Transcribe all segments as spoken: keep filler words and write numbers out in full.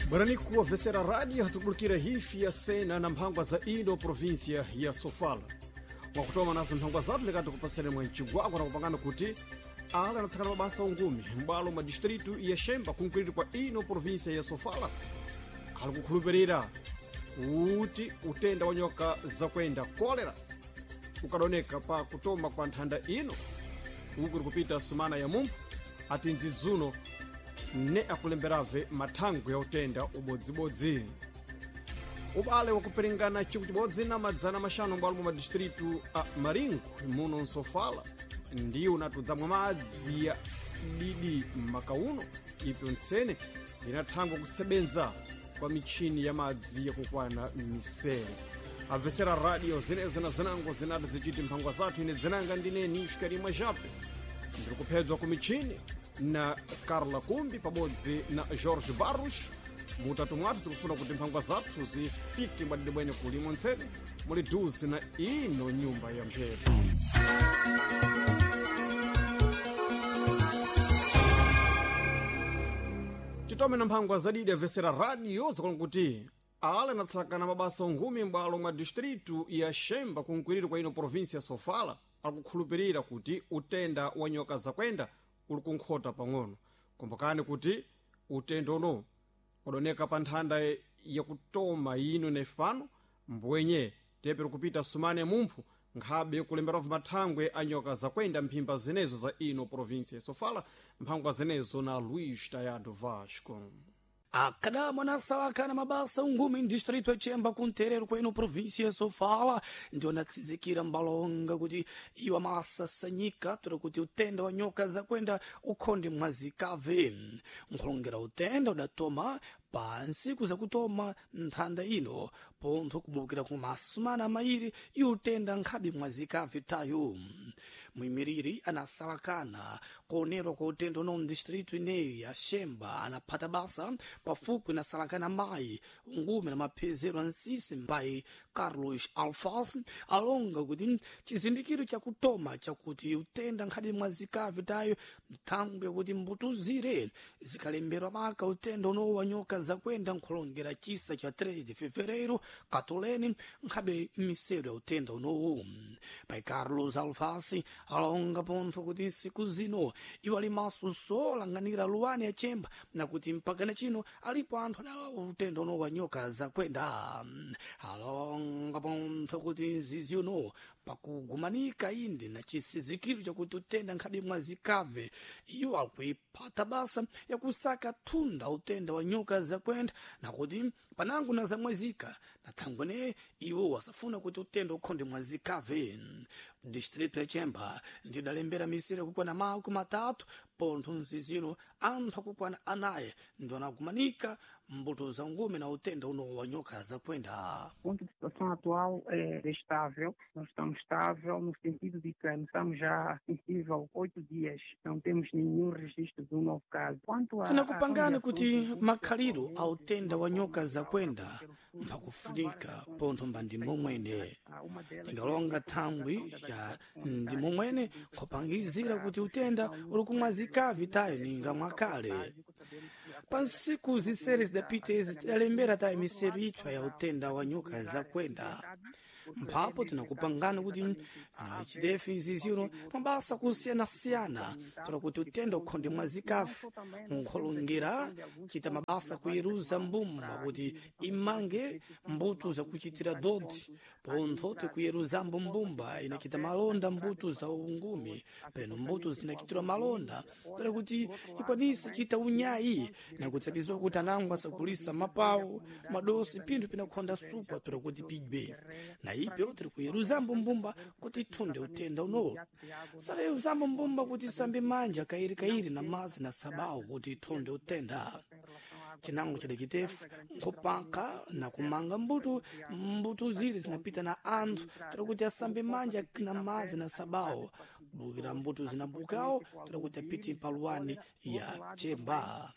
Barani kuwa vesera rádio hatukulikira hifi ya sena na mphangwa za ino província ya Sofala. Mwakutoma nazo mphangwa zathu likati kupasene mwa mcigwagwa na kupangana kuti ala anatsakana mabasa ungumi m'bwalo mwa distritu ya Xemba kunkwiriri kwa ino província ya Sofala ali kukhulupirira kuti utenda wa nyoka zakwenda kolera ukadoneka pa kutoma kwa nthanda ino uku likupita sumana ya mumphu ati ndzidzuno ne akulemberave mathangwe ya utenda ubodzibodzi. Ubale wakupiringana chikwi chibodzi na madzana maxanu m'bwalo mwa madistritu a Maringo muno Nsofala ndiwo unatudzamwa madzi ya didi makauno ipyo ntsene inathangwa kusebenza kwa michini ya madzi yakukwana misere. Amvesera radio zinezo na zinango zinati zichiti mphangwa zathu ine dzinanga ndineni Xikarimwa Jape ndiri kuphedzwa ku michini na Carla Kumbi pabodzi na Jorge Barros. Mutatu mwathu tikufuna kuti mphangwa zathu zifike mwadidi bwene kulimo ntsene muli duzi na ino nyumba ya mphepo. Titome na mphangwa zadidi amvesera radio zakonga kuti ala anatsalakana mabasa ungumi m'bwalo mwa distritu ya Xemba kunkwiriri kwa ino província ya Sofala akukhulupirira kuti utenda wa nyoka zakwenda uli kunkhota pang'ono. Kumbukani kuti utenda uno udoneka pa nthanda yakutoma ino nefe pano mbwenye teperi kupita sumane mumphu nkhabe kulemberavo mathangwe a nyoka zakwenda mphimba zinezo za ino província ya Sofala mphangwa zinezo na Luís Tayado Vasco. Akada mwanasalakana mabasa ungumi ndistrito ya kunterero kwenu província Sofala ndio natsizikira mbalonga kuti iwo amasasanyika tora kuti utenda wa nyoka zakwenda ukhonde mwazikave. Nkhulongera utenda udatoma pa ntsiku zakutoma nthanda ino pontho kubulukira ku masumana mairi iutenda nkhabe mwazikave tayo. Muimiriri anasalakana kuonerwa kwa utenda uno mdistritu ineyi ya Xemba anaphata basa pafupi nasalakana mayi ungume na maphezero a nsisi mbayi Carlos Alfas alonga kuti chizindikiro chakutoma chakuti utenda nkhabe mwazikave tayo thangwe kuti mbutuzire zikalemberwa maka utenda uno wa nyoka zakwenda nkhulongera chisa cha três de fevereiro katoleni nkhabe misero ya utenda unowu. Pai Carlos Alfasi alonga pontho kuti nsiku zino iwo ali maso solanganira luwani ya chemba nakuti mpakana chino alipo anthu adawa utenda uno wa nyoka zakwenda. Alonga pontho kuti nzizi uno pakugumanika inde na chisizikiro chakuti utenda nkhabe mwazikave iwo akuiphata basa yakusaka thunda utenda wa nyoka zakwenda nakuti panango na zamwezika na thangwene iwo wasafuna kuti utenda ukhonde mwazikave. Distrito ya Chemba ndidalembera misere kukwana makumi matatu pontho nzizino anthu akukwana anayi ndio anagumanika mbuto za ngume na utenda uno wa nyoka zakwenda. O ponto de situação atual é estável, nós estamos estável no sentido de que estamos já sensível oito dias, não temos nenhum registro de um novo caso. Quanto a tinakupangani kuti makhaliro a utenda wa nyoka zakwenda mphakufunika pontho mba ndi momwene tingalonga thangwi ya ndi momwene nkhupangizira kuti utenda uli kumwazikavi tayo ninga mwakale. Pa nsiku zisere zidapita izi tidalembera tayo miseru itswa ya utenda wa nyoka zakwenda. Mphapo tinakupangani kuti chitefe iziziro mabasa kusiyanasiyana tola kuti utenda ukhonde mwazikafu nkholongera chita mabasa kuyeruza mbumba kuti imange mbuto zakuchitira dodi pontho tikuyeruzambo mbumba inachita malonda mbuto za ungumi peno mbuto zinachitirwa malonda tola kuti ikwanise chita unyayi nakutsapizwa kuti anango asakulisa mapawu madosi pinthu pinakhonda sukwa tola kuti pidwe na ipyo tiri kuyeruzambo mbumba kuti ithunde utenda unowo. Salayuzambo mbumba kuti isambe manja kairikairi na madzi na sabawu kuti ithunde utenda. Chinango chidakitefu nkhupaka na kumanga mbuto mbuto ziri zinapita na anthu tiri kuti asambe manja na madzi na sabawu Bukira mbuto zinambukawo toda kuti apite mpaluwani ya Chemba.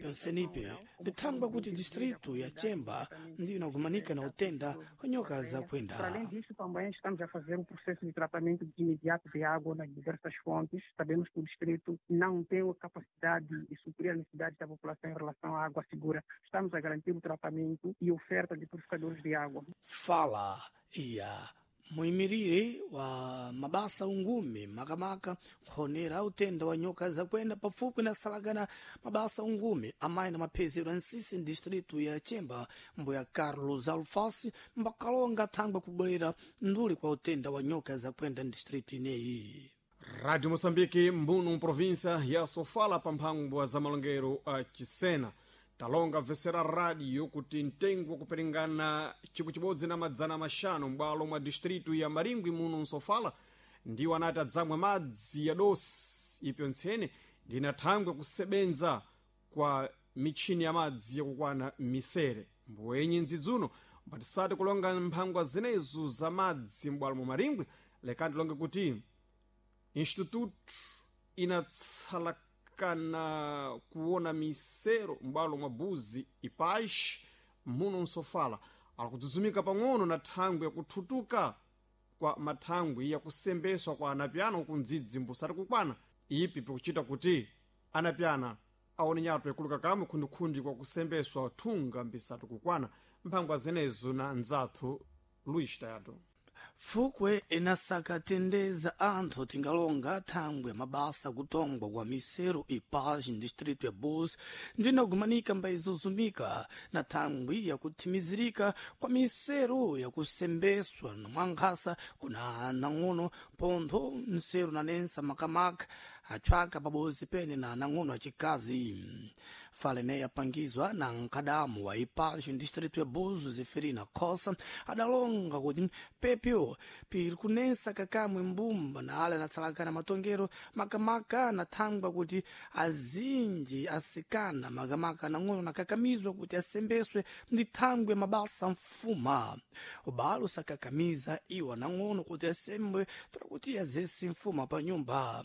Pensenipe ndithangwa kuti distrito ya Chemba ndiyo inagumanika na utenda wa nyoka za kwenda. Para além disso, também estamos a fazer um processo de tratamento de imediato de água nas diversas fontes. Sabemos que o distrito não tem a capacidade de suprir a necessidade da população em relação à água segura. Estamos a garantir o tratamento e oferta de purificadores de água. Fala ya muimiriri wa mabasa ungume makamaka nkhonera utenda wa nyoka zakwenda pafupi na salakana mabasa ungume amayi na maphezero a nsisi distritu ya Chemba mbuya Carlos Alfasi mbakalonga thangwe kubwerera nduli kwa utenda wa nyoka zakwenda distritu ineyi. Rádio Moçambique, Mbuno, província ya Sofala, pamphangwa za malongero a Chisena. Talonga vesera rádio kuti mtengo wakuperingana chikwi chibodzi na madzana maxanu m'bwalo mwa distritu ya Maringwi muno msofala ndiwo anati adzamwa madzi ya dosi ipyo ntsene ndinathangwe kusebenza kwa mitchini ya madzi yakukwana misere. Mbwenyi mdzidzuno mbatisati kulonga mphangwa zinezo za madzi m'bwalo mwa Maringwi, lekani tilonge kuti instituto inatsalakana kuona misero m'bwalo mwa buzi ipaxi muno msofala akudzudzumika pang'ono na thangwi yakuthutuka kwa mathangwi yakusembeswa kwa anapyana uku mdzidzi mbusati kukwana ipi pikuchita kuti anapyana aone nyato ikuluka kamwe khundikhundi kwa kusembeswa thunga mbisati kukwana. Mphangwa zenezo na nzathu Luis Tayato. Fukwe inasakatendeza anthu tingalonga thangwe mabasa kutongwa kwa misero ipaxi distrito ya Bus ndinagumanika mbaizuzumika na thangwi yakuthimizirika kwa misero yakusembeswa na mwankhasa kuna anang'ono pontho msero nanensa makamaka atchwaka pabozi pene na anang'ono acikazi. Fala ineyi yapangizwa na nkadamu wa ipaxi distrito ya Buzo Zeferina Khosa adalonga kuti pepyo piri kunensa kakamwe mbumba na ale anatsalakana matongero makamaka anathangwa kuti azinji asikana makamaka anang'ono nakakamizwa kuti asembeswe ndi thangwe mabasa mfuma. Ubalo sakakamiza iwo anang'ono kuti asembwe tola kuti azesi mfuma pa nyumba.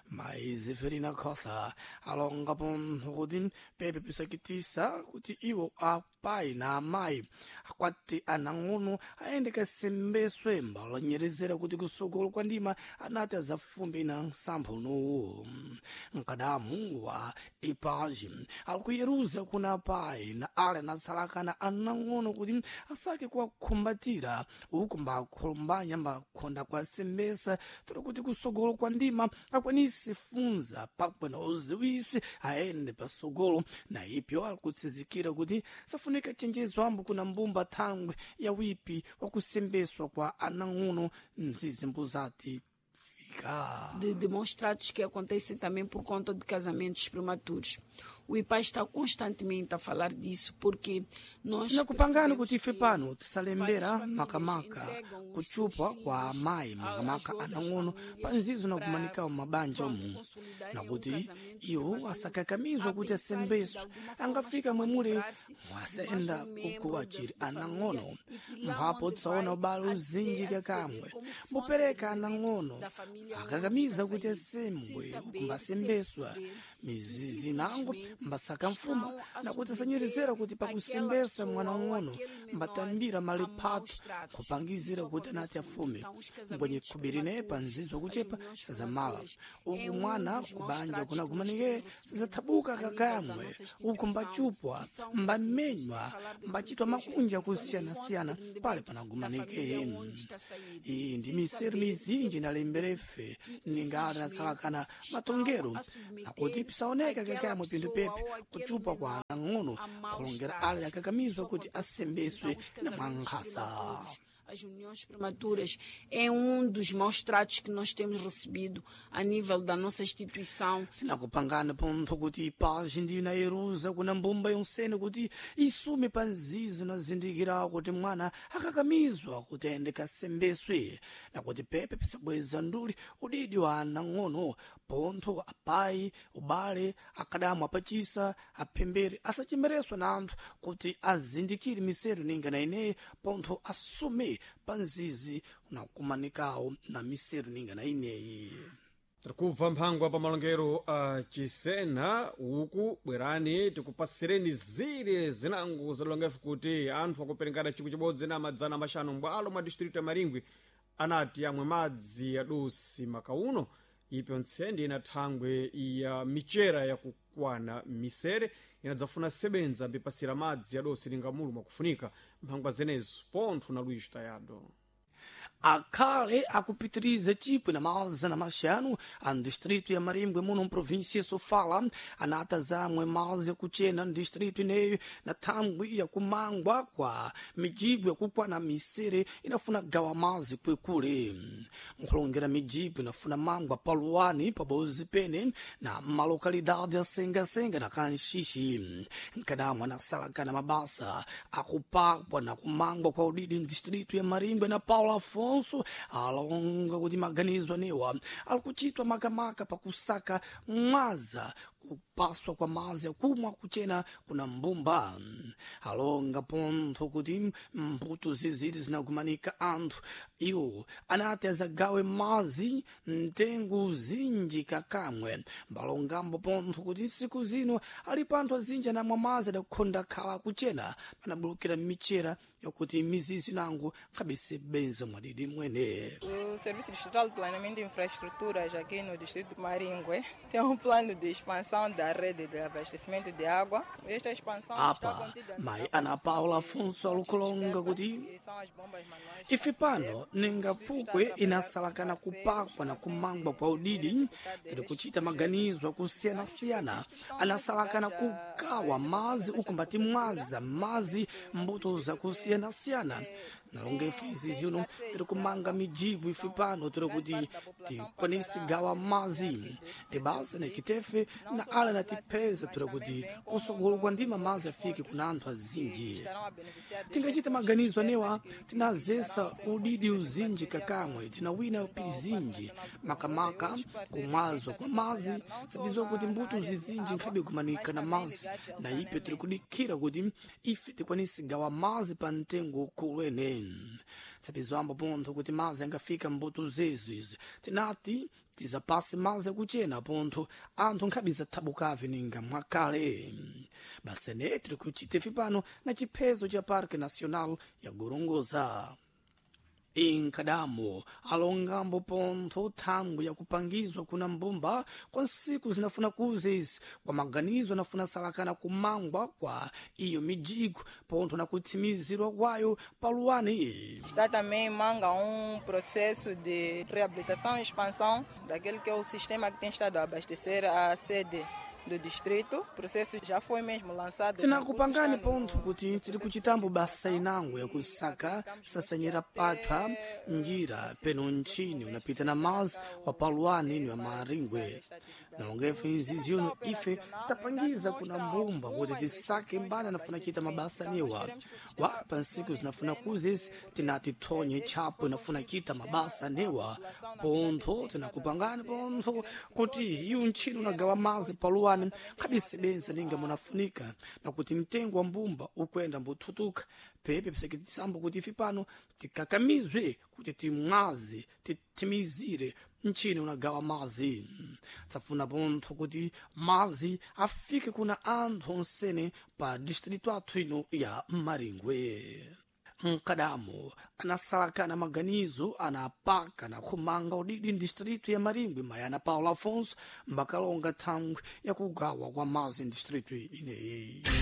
Mayi Zeferina Khosa alonga pontho kuti pepe pisakitisa kuti iwo apai na amayi akwati anang'ono ayende kasembeswe mbalonyerezera kuti kusogolo kwa ndima anati azafumbe na msampha unowu. Mkadamu wa ipaji alikuyeruza kuna apai na ale anatsalakana anang'ono kuti asake kuwakhumbatira uku mbakhulumbanya mbakhonda kuwasembesa tola kuti kusogolo kwa ndima akwanise funza pakwe na uziwisi aende pasogolo na ipyo alikutsizikira kuti safunika chenjezo ambo kuna mbumba thangwe ya wipi wakusembeswa kwa anang'ono mzizimbu zati fika de, de maus tratos que acontecem também por conta de casamentos prematuros. O I P A está constantemente a falar disso porque nós tinakupangani percebemos kuti ife que pano várias tisalembera famílias makamaka entregam os kuchupwa seus kwa filhos amayi a- às makamaka outras anang'ono famílias pa nzizo para, nakumanikawo mabanja pronto, omu consolidarem um nakuti casamento iwo prematuro, asakakamizwa a kuti pensar que de asembeswe alguma forma angafika estão a mwemule livrar-se de mais mwasenda um uku membro da, achiri da família anang'ono e que lá mphapo onde tsaona vai ubale há de ser, uzinji há de servir kakamwe como fonte de mbupereka rendimento anang'ono da família onde está akakamiza a kuti sair, sem asembwe uku saber, sem mbasembeswa perceber que mizizi nango infelizmente mbasaka mfuma estão a nakuti submeter asanyerezera kuti aquela pakusembesa pessoa mwana ou ng'ono aquele menor mbatambira a maus maliphato tratos. kupangizira Isso kuti anati acontece muito. afume Então, os mbwenye casamentos khubirine pa prematuros, nzizo as kuchepa uniões sazamala prematuras, é uku um mwana dos maus kubanja tratos que nós kunakumanike temos recebido sazathabuka a nível da kakamwe nossa uku instituição, mbachupwa que são difíceis, sem mbamenywa falar daquilo mbachitwa que hoje makunja é como fonte kusiyana-siyana de pale rendimento da panakumanike família onde está a sair, iyi ndi sem miseru saber, sem mizinji perceber nalemberefe que ningati infelizmente natsalakana estão matongero a nakuti submeter pisaoneka aquela kakamwe pindu pessoa pepe ou aquele kuchupwa kwa menor anang'ono a maus kulongera ale tratos. akakamizwa Isso kuti acontece muito. asembeswe Então, os na casamentos mwankhasa. prematuros, as uniões prematuras, é um dos maus tratos que nós temos recebido a nível da nossa instituição. Tinakupangana pontho kuti ipaji ndi inayeruza kuna mbumba yonsene kuti isume pa nzizi nazindikira kuti mwana akakamizwa kuti ayende kasembeswe nakuti pepe pisabweza nduli udidi wa anang'ono pontho apayi ubale akadamu apachisa aphembere asachemereswe na anthu kuti azindikire miseru ninga na ineyi pontho asume afike pa mzizi unakumanikawo na miseru ninga na ineyi. Tikubva mphangwa pa malongero a Chisena uku, bwerani tikupasireni zire zinango zalongefu kuti anthu akuperekana chikwi chibodzi na madzana maxanu mbwalo mwa distrito ya Maringwe anati amwe madzi adosi makauno. Ipyo ntsendi ina thangwe ya michera yakukwana misere inadzafuna sebenza mbipasira madzi adosi lingamulu mwakufunika mphangwa zenezo pontho na Luiz Tayado. Akhale akupitiriza chipwi na mazana maxanu a distrito ya Marimbwe muno mprovíncia ya Sofala anata zamwe mazi yakuchena distrito ineyo na thangwi yakumangwa kwa mijibu yakukwana misere inafuna gawa mazi kwekule. Nkhulongera mijibu inafuna mangwa paluwani pabozi pene na malokalidade ya Sengasenga na Kanxixi. Nkadamwe anasalakana mabasa akupakwa na kumangwa kwa udidi mdistrito ya Marimbwe na Paulo Afonso alonga kuti maganizo anewa alikuchitwa makamaka pakusaka mwaza kupaswa kwa mazi akumwa kuchena kuna mbumba. Alonga pontho kuti mbuto ziziri zinakumanika anthu iwo anati azagawe mazi mtengo zinji kakamwe. Mbalongambo pontho kuti nsiku zino alipo anthu azinji anamwa mazi adakukhonda khala kuchena panabulukira michera yakuti mizizi nango nkhabese benza mwadidi mwene. O Serviço Distrital de Planeamento e Infraestruturas aqui no Distrito de Maringue tem um plano de expansão da rede de abastecimento de água. Esta expansão está Apa contida mayi Ana Paula Afonso alukulonga kuti que são as bombas manuais. Ife pano ningapfukwe inasalakana kupakwa na kumangwa kwa udidi tiri kuchita maganizo akusiyana-siyana anasalakana kugawa mazi ukumbati mwaza mazi mbuto zakusiyana-siyana. Nalonga ife izi zino tiri kumanga mijibu ife pano tiri kuti tikwanise gawa mazi tibasa nekitefe na ala natipeza tiri kuti kusogolo kwa ndima mazi afike kuna anthu azinji. Tingachita maganizo anewa tinazesa udidi uzinji kakamwe tinawina pizinji makamaka kumwazwa kwa mazi sabizwa kuti mbuto zizinji nkhabe kumanika na mazi na ipe tiri kudikira kuti ife tikwanise gawa mazi pa mtengo ukulu ene. Sabizwambo pontho kuti mazi angafika mbuto zezu izi tinati tizapase mazi akuchena pontho anthu nkhabe zathabukavi ninga mwakale. Basene tiri kuchita ife pano na chiphezo cha Parque Nacional ya Gorongosa. Inkadamo alongambo pontho thangwi yakupangizwa kuna mbumba kwa nsiku zinafuna kuza izi kwa maganizo anafuna salakana kumangwa kwa iyo mijigo pontho na kutsimizirwa kwayo paluwani. Está também em manga um processo de reabilitação e expansão daquele que é o sistema que tem estado a abastecer a sede do distrito. O processo já foi mesmo lançado. Tinakupangani pontho kuti tiri kuchitambo basa inango yakusaka sasanyira patha njira peno ntchini unapita na mazi wa paluwani inu ya Maringwe. Nalongefe izi zino ife tapangiza kuna mbumba kuti tisake mbana anafuna chita mabasa niwa wa pa nsiku zinafuna kuzezi tinati thonye chapo inafuna chita mabasa newa pontho tinakupangani pontho kuti iyu ntchini unagawa mazi paluwani nkhabisebenza ninga munafunika na kuti mtengo wa mbumba ukwenda mbuthutuka pepe pisakitisambo kuti ife pano tikakamizwe kuti timwaze titimizire ntchini unagawa mazi. Tsafuna pontho kuti mazi afike kuna anthu onsene pa distrito athu ino ya Maringwe. Mkadamo anasalakana maganizo anapaka na kumanga udidi ndistrito ya Maringwe mayana Paulo Afonso mbakalonga thangwi yakugawa kwa mazi ndistrito ineyi.